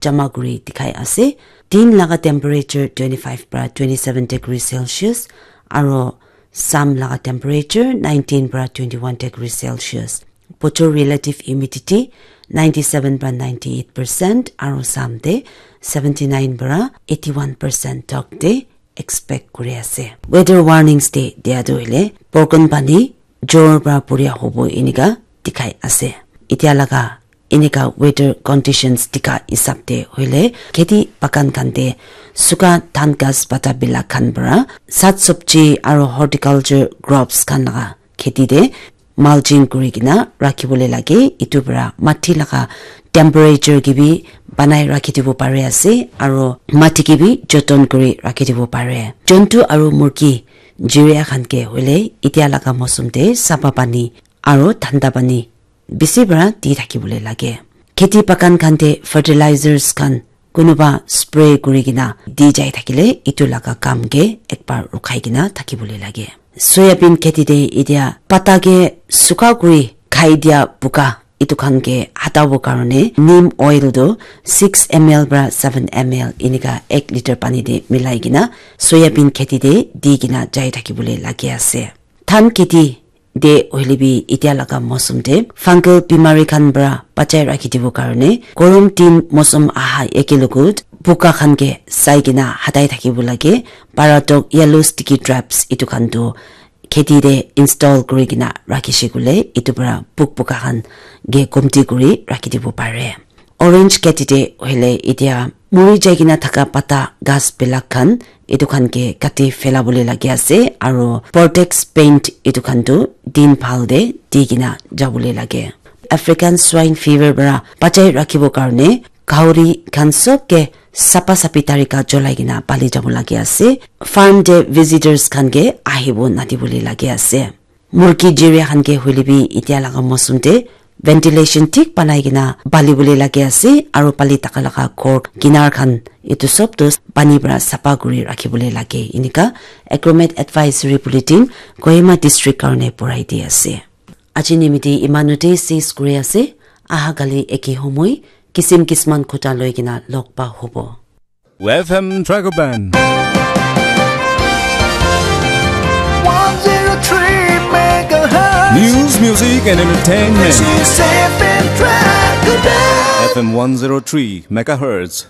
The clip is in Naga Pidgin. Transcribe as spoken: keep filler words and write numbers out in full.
jama kuri dikhai ase. Din laga temperature twenty-five para twenty-seven degree Celsius, aro sam laga temperature nineteen para twenty-one degree Celsius. Bochor relative humidity ninety-seven para ninety-eight percent, aro sam te seventy-nine para eighty-one percent tok te expect kuri ase. Weather warnings te dia tu hoile borkon pani jor para puria hobo enika dikhai ase. Etia laga enika weather conditions dikha hisab te hoile kheti bagan khan te suka dhan ghas pata bilak khan para sat sabji aro horticulture crops khan laga kheti te mulching kuri kena rakhi bole lage. Etu para mati laga temperature ke bi banai rakhi dibo pare ase aro mati ke bi joton kuri rakhi dibo pare. Jontu aro murgi jiria khan ke hoile etia laga mosum te sapa pani aro thanda pani bisi para di thaki bole lage. Kheti bagan khan te fertilizers khan kunuba spray kuri kena di jai thakile etu laga kam ke ekbar rukhai kena thaki bole lage. Soyabean kheti te etia pata ke suka kuri khai dia buka etu khan ke hatabo karone neem oil tu six M L para seven M L enika ek liter pani te milai kena soyabean kheti te di kena jai thaki bole lage ase. Dhan kheti te hoile bi etia laga mosum te fungal bimari khan para bachai rakhi dibo karone gorom din mosum aha eke logot buka khan ke sai kena hatai thakibo lage. Paratok yellow sticky traps etu khan tu kheti te install kuri kena rakhi she koile etu para puk buka khan ke komti kuri rakhi dibo pare. Orange kheti te hoile etia muri jai kena thaka pata ghas bilak khan etu khan ke kati phela bole lage ase aro Vortex paint etu khan tu din bhal te di kena jabole lage. African swine fever para bachai rakhibo karone gauri khan sob ke sapa sapi tarika cholai kena pali jabo lage ase. Farm te visitors khan ke ahibo nadi bole lage ase. Murgi jiria khan ke hoile bi etia laga mosum te ventilation thik banai kena pali bole lage ase aro pali thaka laga ghor kinar khan etu sob tu pani para sapa kuri rakhi bole lage enika Agromet Advisory Bulletin Kohima District karone purai di ase. Aji nimite imanu te sis kuri ase. Aha kali eke homoi kisim kisman khuta loi kena log pa hobo. F M Dragon Band. One zero three megahertz. News, music, and entertainment. This is F M Dragon Band. F M one zero three megahertz.